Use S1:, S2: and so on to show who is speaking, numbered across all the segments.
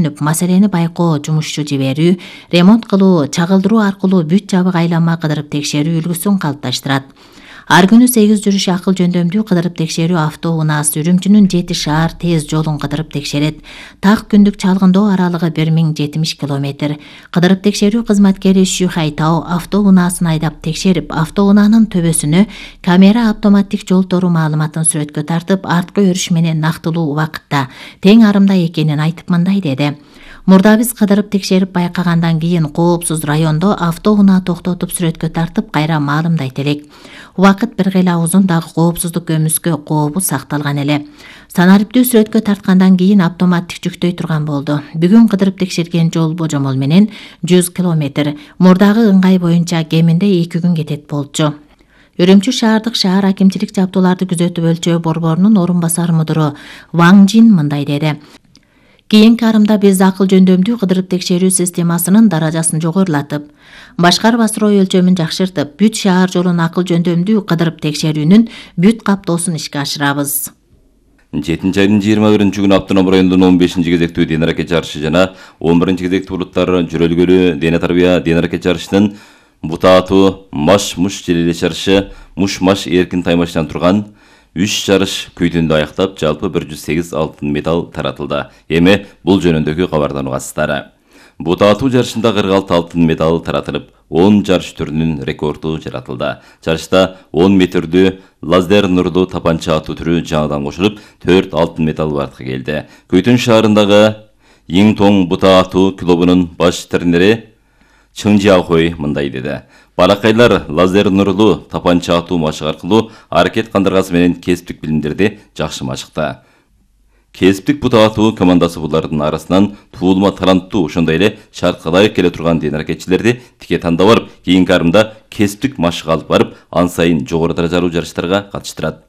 S1: маселени байкоо, жумушчу жиберүү, ремонт кылуу, чагылдыруу аркылуу бүт жабык айланма кыдырып текшерүү үлгүсүн калыпташтырат. Ар күнү 8 жүрүш акыл жөндөмдүү кыдырып текшерүү автоунаас Үрүмчүнүн 7 шаар тез жолун кыдырып текшерет. Так күндүк чалгындоо аралыгы 1070 км. Кыдырып текшерүү кызматкери Шүхай Тао автоунаасын айдап текшерип, автоунаанын төбөсүнө камера автоматтик жол тору маалыматын сүрөткө тартып, арткы өрүш менен нактылуу убакытта тең арымда экенин айтып мындай деди. Мурда биз кыдырып текшерип байкагандан кийин коопсуз райондо автоунаа токтотуп сүрөткө тартып кайра маалымдайт элек. Убакыт бир кыйла узун, дагы коопсуздук көмүскө кообу сакталган эле. Санариптүү сүрөткө тарткандан кийин автоматтик жүктөй турган болду. Бүгүн кыдырып текшерген жол божомол менен 100 км. Мурдагы ыңгай боюнча кеминде 2 күн кетет болчу. Үрүмчү шаардык шаар акимчилик жабдууларды күзөтүп өлчөө борборунун орун басар мудуру Ваң Жин мындай деди. Кийинки арымда биз акыл жөндөмдүү кыдырып текшерүү системасынын даражасын жогорулатып, башкарып асыроо өлчөмүн жакшыртып, бүт шаар жолун акыл жөндөмдүү кыдырып текшерүүнүн бүт каптоосун ишке ашырабыз.
S2: 7 айдын 21-күнү Автоном районунун 15 кезектүү ден аракет жарышы жана 11 кезектүү улуттар жөрөлгөлүү дене тарбия ден аракет жарышынын бутаатуу маш-муш желелеш жарышы муш-маш эркин таймаштан турган 3 жарыш күйдүндө аяктап, жалпы 108 алтын медаль таратылды. Эми бул жөнүндөгү кабардануу кастары. Бутаатуу жарышында 46 алтын медаль таратылып, 10 жарыш түрүнүн рекорду жаратылды. Жарышта 10 метрдүү лазер нурлуу тапанча атуу түрү жаңыдан кошулуп, 4 алтын медаль бартка келди. Көйтөн шаарындагы Иңтоң бутаатуу клубунун баш тренери Чың Жиахой мындай деди. Балакайлар лазер нурлуу тапанча атуу машыгы аркылуу аракет кандыргасы менен кесиптик билимдерди жакшы машыкты. Кесиптик бутаатуу командасы булардын арасынан туулма таланттуу, ошондой эле шартка ылайык келе турган ден аракетчилерди тике тандап барып, кийинки арымда кесиптик машык алып барып, ан сайын жогору даражалуу жарыштарга катыштырат.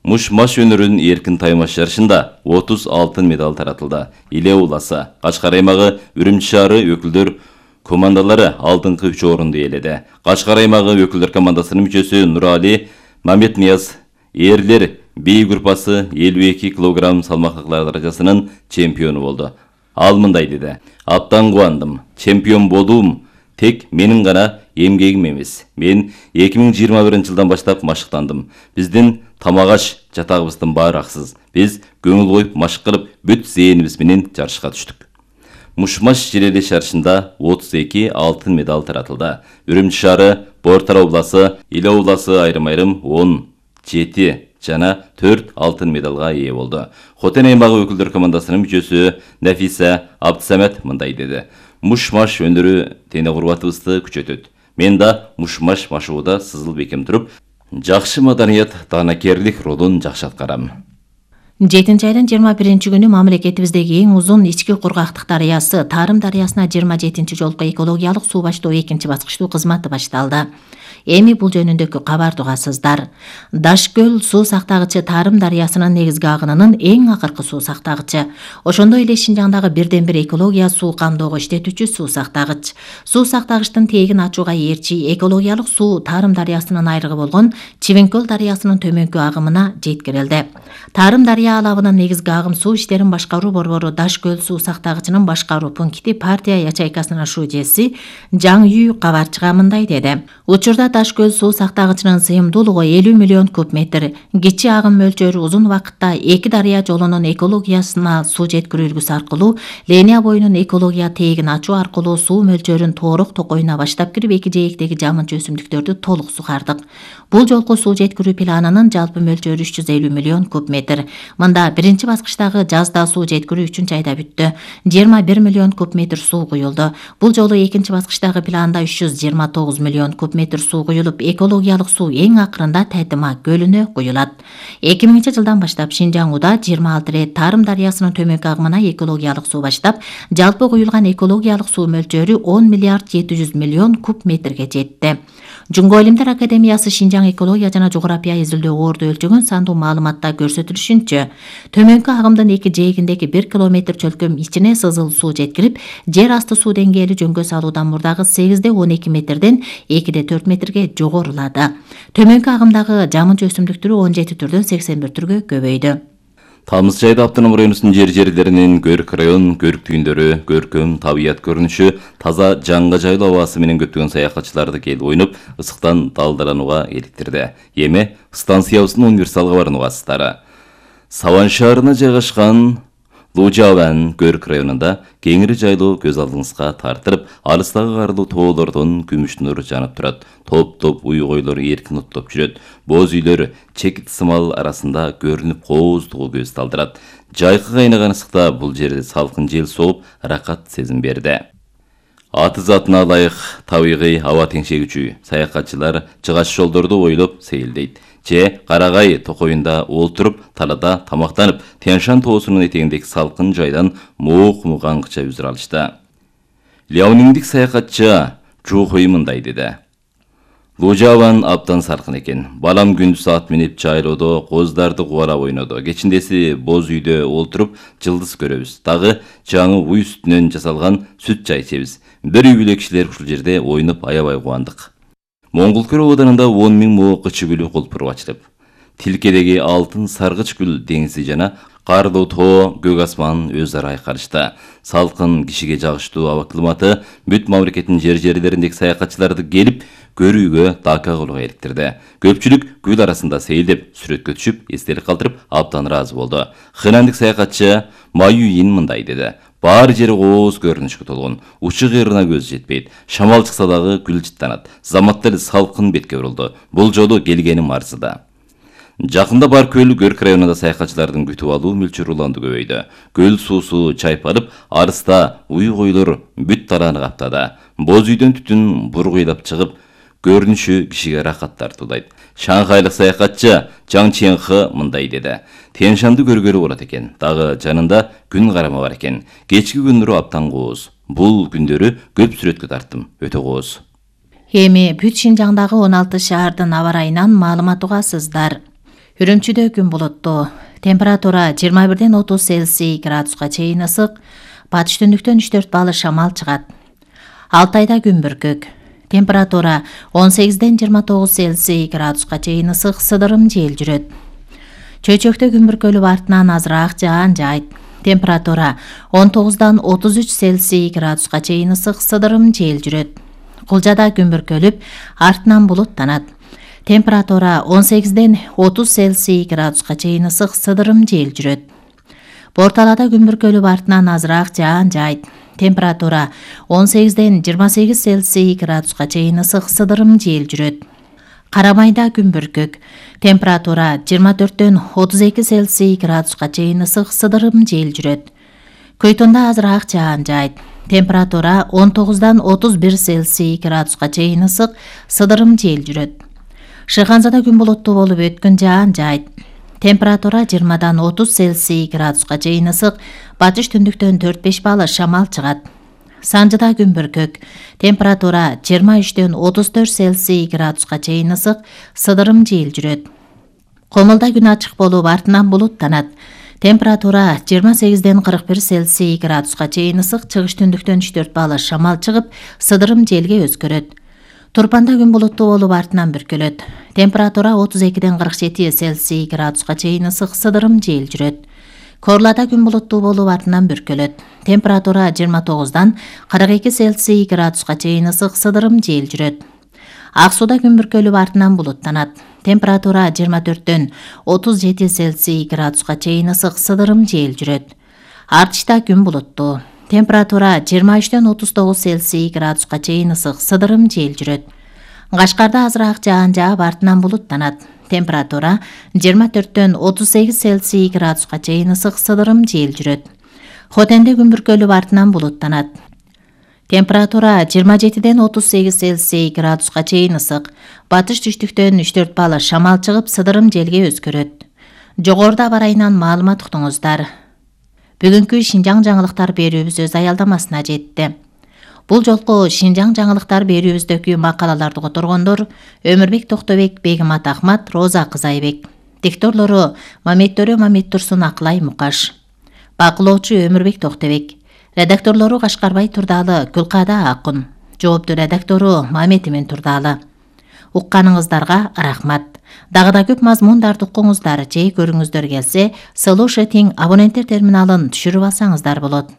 S2: Муш-маш өнөрүнүн эркин таймаш жарышында 30 алтын медаль таратылды. Иле ууласы, Качкар аймагы, Үрүмчү шаары өкүлдөр командалары алдыңкы 3 орунду ээледи. Качкар аймагы өкүлдөр командасынын мүчөсү Нурали Маметнияз эрлер B группасы 52 кг салмактыклар даражасынын чемпиону болду. Ал мындай деди. Абдан кубандым. Чемпион болуум тек менин гана эмгегим эмес. Мен 2021-жылдан баштап машыктандым. Биздин тамагаш жатагыбыздын баары аксыз. Биз көңүл коюп машык кылып, бүт зээнибиз менен жарышка түштүк. Муш-маш желелеш жарышында 32 алтын медаль таратылды. Үрүмчү шаары, Бортара обласы, Иле обласы айрым-айрым 17 жана 4 алтын медалга ээ болду. Хотен аймагы өкүлдөр командасынын мүчөсү Нафиса Абдсамат мындай деди. Муш-маш өнөрү тене курбатыбызды күчөтөт. Мен да муш-маш машыгууда сызыл бекем туруп, жакшы маданият, таанакерлик ролун жакшы аткарам.
S1: 7 айдын 21-күнү мамлекетибиздеги эң узун ички кургактык дарыясы Тарым дарыясына 27 жолку экологиялык суу баштоо 2 баскычтуу кызматы башталды. Эми бул жөнүндөгү кабарды угасыздар. Дашкөл суу сактагычы Тарым дарыясынын негизги агынынын эң акыркы суу сактагычы. Ошондой эле Шинжаңдагы бирден бир экология суу камдоого иштетүүчү суу сактагыч. Суу сактагычтын тегин ачууга ээрчи экологиялык суу Тарым дарыясынын айрыгы болгон Чивенкөл дарыясынын төмөнкү агымына жеткирилди. Тарым дарыя алабынын негизги агым суу иштерин башкаруу борбору Дашкөл суу сактагычынын башкаруу пункти партия ячейкасынын шужеси Жаң Үй кабарчыга мындай деди. Учурда Дашкөл суу сактагычынын сыйымдуулугу 50 миллион куб метр. Кичи агым мөлчөрү узун вакытта эки дарыя жолунун экологиясына суу жеткирүү үлгүсү аркылуу линия боюнун экология тегин ачуу аркылуу суу мөлчөрүн тоорок токойуна баштап кирип эки жээктеги жамынчы өсүмдүктөрдү толук сугардык. Бул жолку суу жеткирүү планынын жалпы мөлчөрү 350 миллион куб метр. Мында биринчи баскычтагы жазда суу жеткирүү 3 айда бүттү. 21 миллион куб метр суу куюлду. Бул жолу экинчи баскычтагы планда 329 миллион куб метр суу куюлуп, экологиялык суу эң акырында Тайтыма көлүнө куюлат. 2000-жылдан баштап Шинжаңда 26 рет Тарым дарыясынын төмөнкү агымына экологиялык суу баштап, жалпы куюлган экологиялык суу мөлчөрү 10 миллиард 700 миллион куб метрге жетти. Жунго илимдер академиясы Шинжаң экология жана жография изилдөө орду өлчөгөн сандуу маалыматта көрсөтүлүшүнчө, төмөнкү агымдын эки жээгиндеги 1 километр чөлкөм ичине сызыл суу жеткирип, жер асты суу деңгээли жөнгө салуудан мурдагы 8-12 метрден 2-4 метрге жогорулады. Төмөнкү агымдагы жамынчы өсүмдүк түрү 17 түрдөн 81 түргө көбөйдү.
S2: Тамыз жайда автоном районунун жерлеринин көрк район көрктүйүндөрү, көркөм табият көрүнүшү, таза жаңга жайлуу абасы менен көптөгөн саякатчыларды келип ойноп, ысыктан далдаланууга иликтирди. Эми станциябыздын универсалга баруугасыздары. Саван шаарына жайгашкан Лужаван көрк районунда кеңири жайлуу көз алдыңызга тартырып, алыстагы карлуу тоолордон күмүш нур жанып турат. Топ-топ уй-койлор эркин оттоп жүрөт. Боз үйлөр чекит сымал арасында көрүнүп кооздугу көз талдырат. Жайкы кайнаган ысыкта бул жерде салкын жел сооп, ракат сезим берди. Аты затына ылайык табигый аба теңшегүчү саякатчылар чыгаш жолдорду бойлоп сейилдейт. Же Карагай токоюнда олтуруп, талада тамактанып, Тянь-Шань тоосунун этегиндеги салкын жайдан муук-мугаңча үзүр алышты. Ляониңдик саякатчы Жухой мындай деди. Лужаван абдан салкын экен. Балам күндүз ат минип жайлоодо коздарды кубалап ойнодо. Кечиндеси боз үйдө олтуруп жылдыз көрөбүз. Дагы жаңы уй сүтүнөн жасалган сүт чай ичебиз. Бир үй бүлө кишилер ушул жерде ойноп аябай кубандык. Моңгулкөл абадарында 10 000 мо кычы гүлү колпуруп ачылып. Тилкедеги алтын саргыч гүл деңизи жана карлуу тоо, көк асман өз ара айкалышты. Салкын кишиге жагыштуу аба климаты бүт мамлекеттин жерлериндеги саякатчыларды келип көрүүгө, дака кылууга иликтирди. Көпчүлүк гүл арасында сейилдеп, сүрөткө түшүп, эстелик калтырып, абдан ыраазы болду. Хэнандык саякатчы Маюин мындай деди. Баары жери кооз көрүнүшкө толгон. Учу кыйрына көз жетпейт. Шамал чыкса дагы гүл жыттанат. Заматта эле салкын бетке бурулду. Бул жолу келгеним арзыда. Жакында бар көл көрк районунда саякатчылардын күтүп алуу мүлчүр уланды көбөйдү. Көл суусу чайпалып, арыста уй-койлор бүт талааны каптады. Боз үйдөн түтүн бургуйлап чыгып, көрүнүшү кишиге рахат тартуудайт. Шанхайлык саякатчы Жаң Ченхы мындай деди. Тянь-Шаньды көргөлү болот экен. Дагы жанында күн карама бар экен. Кечки күндөрү абдан кооз. Бул күндөрү көп сүрөткө тарттым. Өтө кооз.
S1: Эми бүт Шинжаңдагы 16 шаардын аба ырайынан маалымат угасыздар. Үрүмчүдө күн булуттуу. Температура 21-ден 30 Цельсий градуска чейин ысык. Батыш түндүктөн 3-4 балл шамал чыгат. Алтайда күн бүркөк. Температура 18-ден 29 Цельсий градуска чейин ысык, сыдырым жел жүрөт. Чөйчөктө күн бүркөлүп артынан азыраак жаан жайт. Температура 19-дан 33 Цельсий градуска чейин ысык, сыдырым жел жүрөт. Кулжада күн бүркөлүп артынан булуттанат. Температура 18-ден 30 Цельсий градуска чейин ысык, сыдырым жел жүрөт. Борталада күн бүркөлүп артынан азыраак жаан жайт. Температура 18-ден 28 Цельсий градуска чейин ысык, сыдырым жел жүрөт. Карамайда күн бүркөк. Температура 24-ден 32 Цельсий градуска чейин ысык, сыдырым жел жүрөт. Көйтүндө азыраак жаан жайт. Температура 19-дан 31 Цельсий градуска чейин ысык, сыдырым жел жүрөт. Шыханзада күн булуттуу болуп өткөн жаан жайт. Температура 20-дан 30 Цельсий градуска чейин ысык, батыш түндүктөн 4-5 балл шамал чыгат. Санжыда күн бүркөк. Температура 23-ден 34 Цельсий градуска чейин ысык, сыдырым жел жүрөт. Комулда күн ачык болуп артынан булуттанат. Температура 28-ден 41 Цельсий градуска чейин ысык, чыгыш түндүктөн 3-4 балл шамал чыгып, сыдырым желге өзгөрөт. Турпанда күн булуттуу болуп артынан бүркөлөт. Температура 32-ден 47 Цельсий градуска чейин ысык, сыдырым жел жүрөт. Корлада күн булуттуу болуп артынан бүркөлөт. Температура 29-дан 42 Цельсий градуска чейин ысык, сыдырым жел жүрөт. Ак сууда күн бүркөлүп артынан булуттанат. Температура 24-дөн 37 Цельсий градуска чейин ысык, сыдырым жел жүрөт. Артышта күн булуттуу. Температура 23-ден 39 Цельсий градуска чейин ысык, сыдырым жел жүрөт. Кашкарда азыраак жаан жаап артынан булуттанат. Температура 24-дөн 38 Цельсий градуска чейин ысык, сыдырым жел жүрөт. Хотенде күн бүркөлүп артынан булуттанат. Температура 27-ден 38 Цельсий градуска чейин ысык, батыш түштүктөн 3-4 балл шамал чыгып, сыдырым желге өзгөрөт. Жогоруда аба ырайынан маалымат уктуңуздар. Бүгүнкү Шинжаң жаңылыктар берүүбүз өз аялдамасына жетти. Бул жолку Шинжаң жаңылыктар берүүбүздөгү макалаларды которгондор Өмүрбек Токтобек, Бегимат Ахмат, Роза Кызайбек. Дикторлору Маметтөрө Мамет Турсун, Акылай Мукаш. Бакылоочу Өмүрбек Токтобек. Редакторлору Кашкарбай Турдалы, Гүлкада Акун. Жоопту редактору Мамет Турдалы. Укканыңыздарга рахмат. Дагы да көп мазмундарды укуңуздар же көрүңүздөр келсе, Slушатing абоненттер терминалын түшүрүп алсаңыздар болот.